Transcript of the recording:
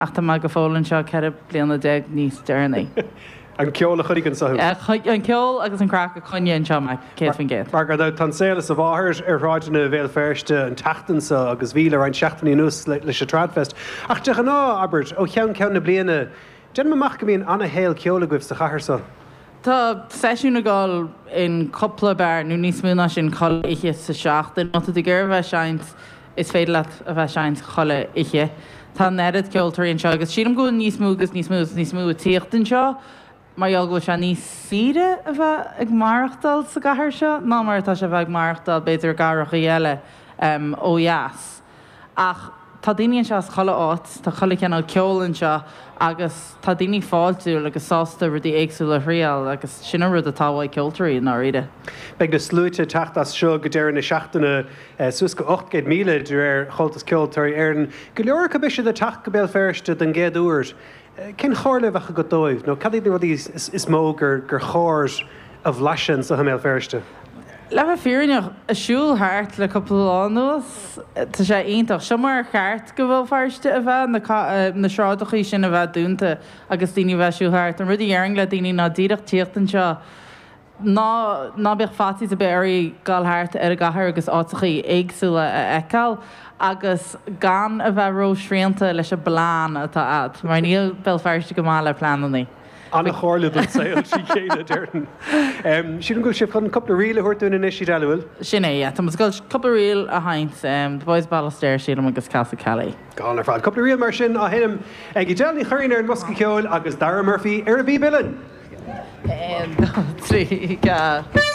Ach tá mé go fóill anseo 14 bliana níos deireanaí. An ceol a choinnigh anseo thú? An ceol agus an craic a choinnigh anseo mé, 100%. Mar gan dabht, tá an saol as a mháthair ar shráideanna Bhéal Feirste an tseachtain seo agus bhí le roinnt seachtainí anuas leis an Tradfest. Ach de ghnáth, abair, ó cheann ceann na bliana, déanaim amach go mbíonn ana-shaol ceoil agaibh sa chathair seo. Tá seisiún ag dul in cúpla beár nó níos mó ná sin chuile oíche sa seachtain. Má tá tú ag iarraidh a bheith ag seinnt, is féidir leat a bheith ag seinnt chuile oíche. Tá an oiread ceoltóirí anseo agus sílim go bhfuil níos mó agus níos mó agus níos mó ag tíocht anseo mar gheall go bhfuil sé níos saoire a bheith ag maireachtáil sa gcathair seo ná mar atá sé a bheith ag maireachtáil b'fhéidir i gcathrachaí eile ó dheas. Ach tá daoine anseo as chuile áit, tá chuile chineál ceoil anseo agus tá daoine fáiltiúil agus sásta rudaí éagsúla a thriáil agus sin an rud atá uaidh ceoltóirí i ndáiríre. Beidh na sluaite ag teacht as seo go deireadh na seachtaine, suas go 800,000 de réir Chomhaltas Ceoltóirí Éireann. Go leor acu beidh siad ag teacht go Béal Feirste don gcéad uair. Cén chomhairle a bheadh agat dóibh nó cad iad na rudaí is mó gur chóir a bhlaiseadh anseo i mBéal Feirste? Le bheith fírinneach, ag siúl thart le cúpla lá anuas, tá sé iontach. Seo mar ar cheart go Bhéal Feirste a bheith, na sráideachaí sin a bheith dúnta agus daoine a bheith ag siúl thart. An rud a dhéarfainn le daoine ná díreach tíocht anseo, Ná ná bíodh faitíos ar bith oraibh dul thart ar an gcathair agus áiteachaí éagsúla a fheiceáil agus gan a bheith ró-shrianta leis an bplean atá a'd, mar níl Béal Feirste go maith le pleanannaí. An-chomhairle don saol trí chéile, déarfainn. Sílim go bhfuil sibh chun cúpla ríl a thabhairt dúinn anois, Edel, an bhfuil? Sin é, yeah. Tá muid ag dul cúpla ríl a sheinnt, The Boys of Ballystair, sílim, agus Castle Kelly. Go hálainn ar fad. Cúpla ríl mar sin á sheinm ag Edel Ní Churraoin ar an mbosca ceoil agus Dara Murphy ar an bpíb uilleann. 1, 2, 3, 4.